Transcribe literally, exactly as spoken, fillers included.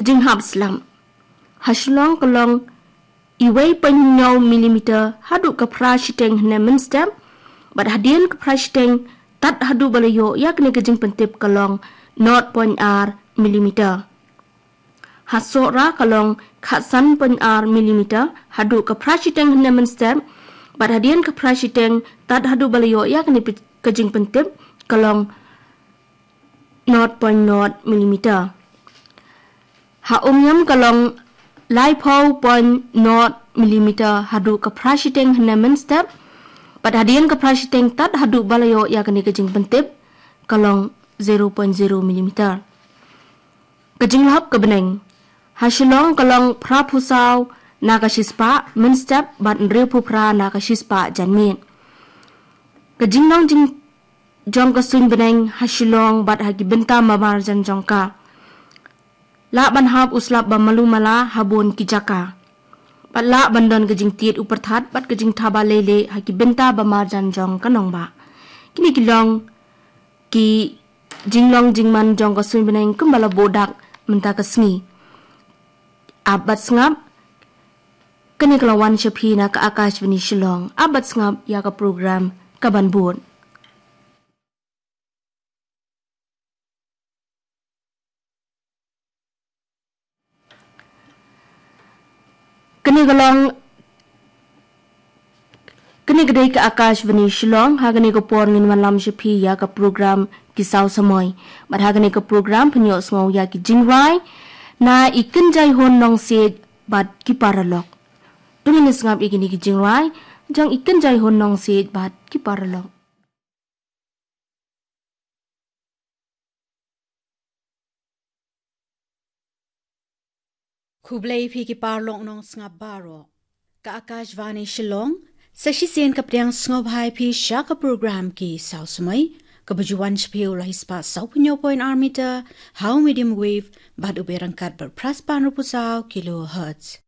Jinghap slap. Ha Shillong ka long wei point hynñiew millimeter haduh ka phra shiteng hynne mynstep, bad hadien ka phra shiteng tad haduh ba la ïoh ïa kane ka jingpyntip ka long nought point ar millimeter. Ha Sohra ka long khatsan point ar millimeter haduh ka phra shiteng hynne mynstep, bad hadien ka phra shiteng tad haduh ba la ïoh ïa kane ka jingpyntip ka long nought point nought millimeter. Ha Umiam ka long laiphew point nought millimeter haduh ka phra shiteng hynne mynstep, bad hadien ka phra shiteng tad haduh ba la ïoh ïa kane ka jingpyntip ka long zero point zero millimeter. Ka jinglap ka bneng. Ha Shillong ka long phraphew saw na ka shispah mynstep bad hynriewphew phra na ka shispah janmiet. Ka jinglong jing jong ka suiñ bneng ha Shillong bad ha ki bynta ba marjan jong ka. Lah ban hap u slap ba malu mala ha bun ki jaka. Bad lah ban don ka jingtied u pyrthat bad ka jingthaba leilieh ha ki bynta ba marjan jong ka nongbah. Kine ki long ki jinglong jingman jong ka suiñ bneng kumba la buh dak mynta ka sngi. Ap bad sngap, kane ka la wan sha phi na ka Akashvani Shillong. Ap bad sngap ïa ka program ka ban bud. Kane ka long, kane ka dei ka Akashvani Shillong, ha kane ka por ngin wanlam sha phi ïa ka program Ki Saw Samoi. Bad ha kane ka program pynïohsngew ïa ki jingrwai na i Kynjai Hun Nongsiej bad ki paralok. To ngin sngap ïa kine ki jingrwai jong i Kynjai Hun Nongsiej bad ki paralok. Khublei phi ki paralok nongsngap baroh. Ka Akashvani Shillong, sa shisien ka pdiang sngewbha ïa phi sha ka program Ki Saw Samoi, kaba ju wan sha phi u la hi spah saw phew hynñiew point ar meter ha u medium wave bad u beh ryngkat bad phra spah hynriewphew saw kilohertz.